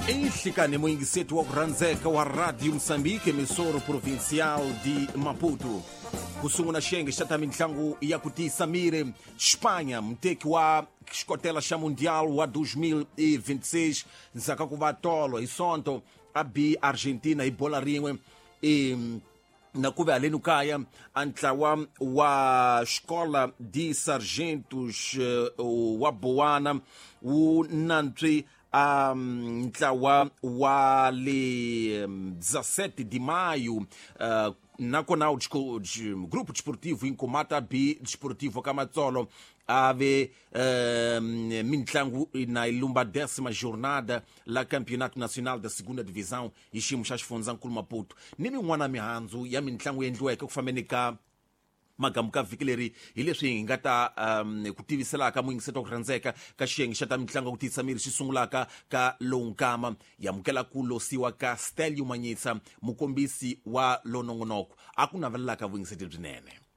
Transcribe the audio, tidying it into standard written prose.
Nhlikani muyingiseti wa ku rhandzeka wa Radio Moçambique, emissora provincial de Maputo. Ku sungula xiyenge xa ta mitlangu ya ku tiyisa miri, Espanha muteki wa xikotela xa Mundial wa 2026 ndzhaku ka ku va tolo hi Sonto a bi Argentina hi bola rin'we e na ku ve haleni kaya a ntlawa wa Escola de Sargentos wa Boana wu nantswi a ntlawa wa le 17 de maio, nakona o Grupo Desportivo Inkomata B Desportivo Kamatsolo a ve mintlangu na ilumba 10ª jornada la Campeonato Nacional da Segunda Divisão hi xiyimo xa xifundzankulu Maputo ni min'wana mihandzu ya mitlangu endliweke ku fambeni ka magamu ka vhiki leri hi leswi hi nga ta ku tiviselaka muyingiseti wa ku rhandzeka ka xiyenge xa ta mitlangu ya ku tiyisa miri xi sungulaka ka lowu nkama yamukela ku losiwa ka Stelio Manyisa, mukombisi wa lonongonoko a ku navelelaka vuyingiseti byinene.